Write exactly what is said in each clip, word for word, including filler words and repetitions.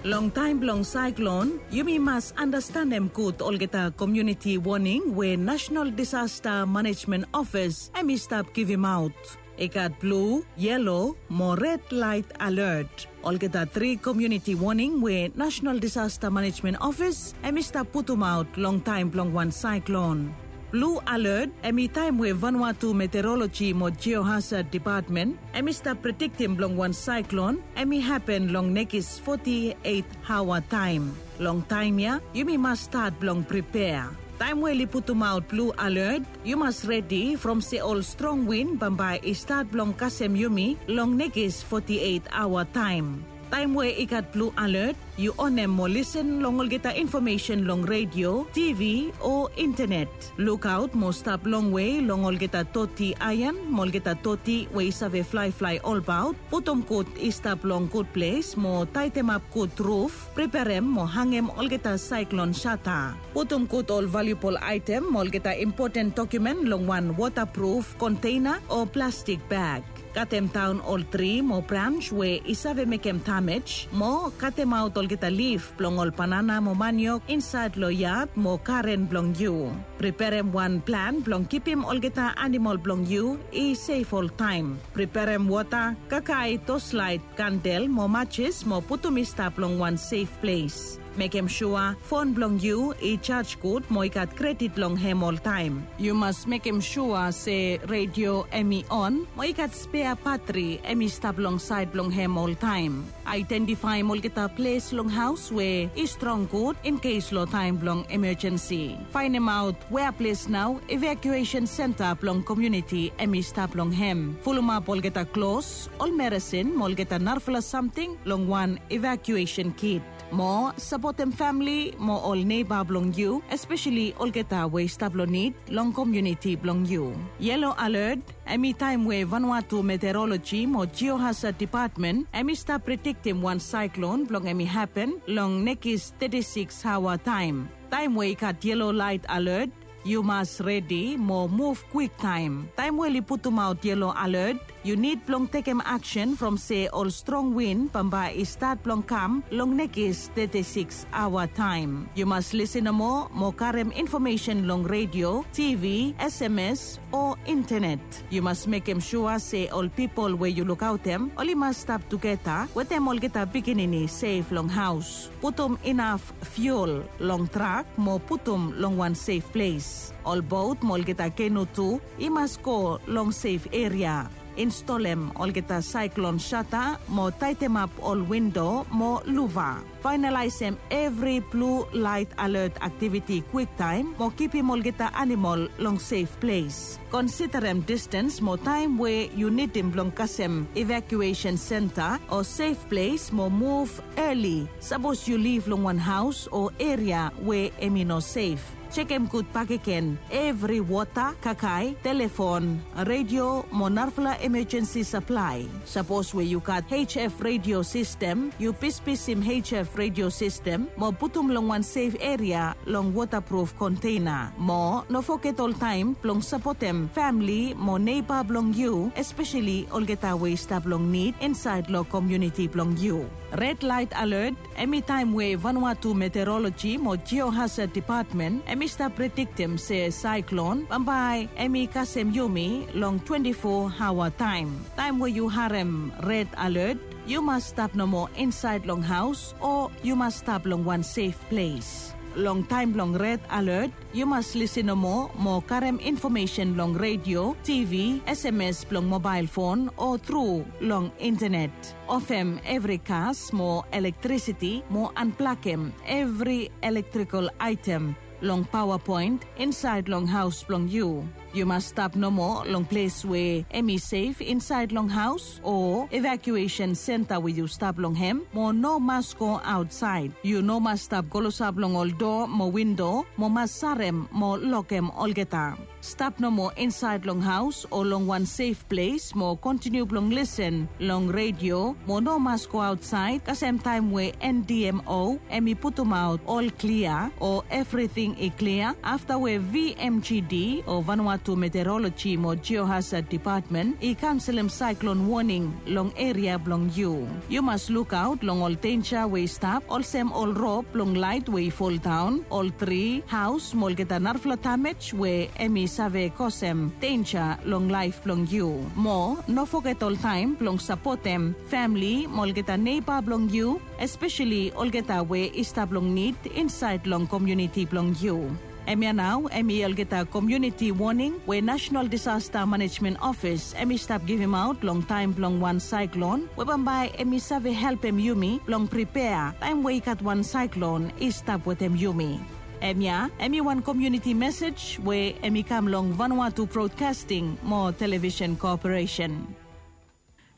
Long taem blong saeklon, yumi mas andastanem gud olgeta komuniti woning we National Disaster Management Office hemi stap givimaot. I gat blu, yelo mo red laet alert. Olgeta tri komuniti woning we National Disaster Management Office hemi stap putumaot long taem blong wan saeklon. Blu alert hemi taem we Vanuatu Meteorology mo Geohazard Department hemi stap prediktim blong wan saeklon hemi hapen long nekis foti eit aoa taem. Long taem ya yumi mas stat blong pripea. Taem we oli putumaot blu alert, yu mas redi from se ol strong win bambae i stat blong kasem yumi long nekis foti eit aoa taem. Taem we i gat blu alert, yu onem mo lisen long olgeta infomesen long redio, tivi o intenet. Lukaot mo stap longwe long olgeta toti aean mo olgeta toti we i save flaeflae olbaot. Putum gud i stap long gud ples mo taetemap gud ruf. Preperem mo hangem olgeta saeklon sata. Putum gud ol valiubol aetem mo olgeta impoten dokumen long wan wotapruf konteina o plastik bag. Katemdaon ol tri mo brans we i save mekem damej mo katemaot olgeta lif blong ol banana mo maniok insaed long yad mo garen blong yu. Preperem wan plan blong kipim olgeta anamol blong yu i sef oltaem. Preperem wota, kakae, toslaet, kandel mo majis mo putum i stap long wan sef ples. Mekem sua fon blong yu i jaj gud mo i gat kredit long hem oltaem. Yu mas mekem sua se redio hemi on mo i gat spea batri hemi stap long saed blong hem oltaem. Aedentifaem olgeta ples long haos we i strong gud in kes long taem blong emejensi. Faenemaot wea ples nao evakuesen senta blong komuniti hemi stap long hem. Fulumap olgeta klos, ol meresin mo olgeta narafala samting long wan evakuesen kit. Mo sapotem famle mo ol neiba blong yu, espeseli olgeta we i stap long nid long komuniti blong yu. Yelo alert hemi taem we Vanuatu Meteorology mo Geohazard Department hemi stap prediktim wan saeklon blong hemi hapen long nekis teti sikis aoa taem. Taem we i gat yelo laet alert, yu mas redi mo muv kwiktaem. Taem we oli putumaot yelo alert, yu nid blong tekem aksen from se ol strong win bambae i stat blong kam long nekis teti sikis aoa taem. Yu mas lisen nomo mo karem infomesen long redio, tivi, sms o intenet. Yu mas mekem sua se ol pipol we yu lukaotem oli mas stap tugeta wetem olgeta pikinini sef long haos. Putum inaf fiul long trak mo putum long wan sef ples. Ol bot mo olgeta kenu tu i mas go long sef eria. Instolem olgeta saeklon sata mo taetemap ol windo mo luva. Faenalaesem evri blu laet alert aktiviti kwiktaem mo kipim olgeta anamol long sef ples. Konsiderem distens mo taem we yu nidim blong kasem evakuesen senta o sef ples mo muv eli sapos yu liv long wan haos o eria we hemi no sef. Jekem gud bakegen evri wota, kakae, telefon, redio mo narafala emejensi saplae. Sapos we yu gat H F redio sistem, yu pispisim H F redio sistem mo putum long wan sef eria long wotapruf konteina. Mo no foget oltaem blong sapotem famle mo neiba blong yu, espeseli olgeta we i stap long nid insaed long komuniti blong yu. Red laet alert hemi taem we Vanuatu Meteoroloji mo Jiohasad Depatmen hemi stap prediktem se saeklon bambae hemi kasem yumi long twenti fo aoa taem. Taem we yu harem red alert, yu mas stap nomo insaed long haos o yu mas stap long wan sef ples. Long taem blong red alert, yu mas lisin nomo mo karem infomesen long redio, T V, S M S blong mobael fon o tru long intenet. Ofem evri gas mo elektrisiti mo anplakem evri elektrikol aetem long paoa poen insaed long haos blong yu. Yu mas stap nomo long ples we hemi sef insaed long haos o evakuesen senta we yu stap long hem mo no mas go aotsaed. Yu no mas stap klosap long ol doa mo windo mo mas sarem mo lokem olgeta. Stap nomo insaed long haos o long wan sef ples mo kontiniu blong lisin long redio mo no mas go aotsaed kasem taem we N D M O hemi putumaot ol klia o evriting i klia afta we V M G D o Vanuatu Vanuatu Meteorology mo Geohazard Department i kanselem saeklon woning long eria blong yu. Yu mas lukaot long ol denja we i stap, olsem ol rop blong laet we i foldaon, ol tri, haos mo olgeta narafala damej we hemi save kosem denja long laef blong yu. Mo no foget oltaem blong sapotem famle mo olgeta neiba blong yu, espeseli olgeta we i stap long nid insaed long komuniti blong yu. Hemia nao hemi olgeta komuniti woning we Nasenal Disasta Manejmen Ofis hemi stap givimaot long taem blong wan saeklon we bambae hemi save helpem yumi blong pripea taem we i gat wan saeklon i stap wetem yumi. Hemia hemi wan komuniti mesej we hemi kam long Vanuatu Broadcasting mo Televisen Koperesen.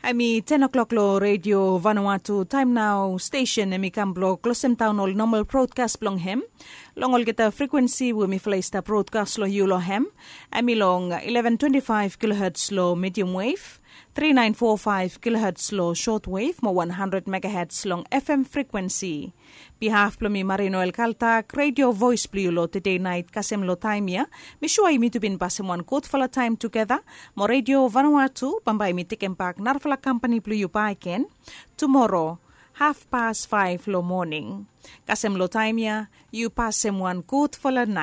Hemi ten o'clock long Redio Vanuatu. Taem nao stesen hemi kam blong klosemdaon ol nomal brodkas blong hem long olgeta frikwensi we mifala i stap brodkas long yu long hem. Hemi long eleven twenty-five kilohertz long medium wave, three nine four five kilohertz long short wave mo one hundred megahertz long F M frikwensi. Bihaf blong mi Marino El Kaltak, Redio Voes blong yu long tede naet kasem long taem ya. Mi sua yumi tu bin pasem wan gudfala taem tugeta mo Redio Vanuatu bambae mi tekembak narafala kampani blong yu bakegen tumoro hafpas faef long moning. Kasem long taem ya yu pasem wan gudfala naet.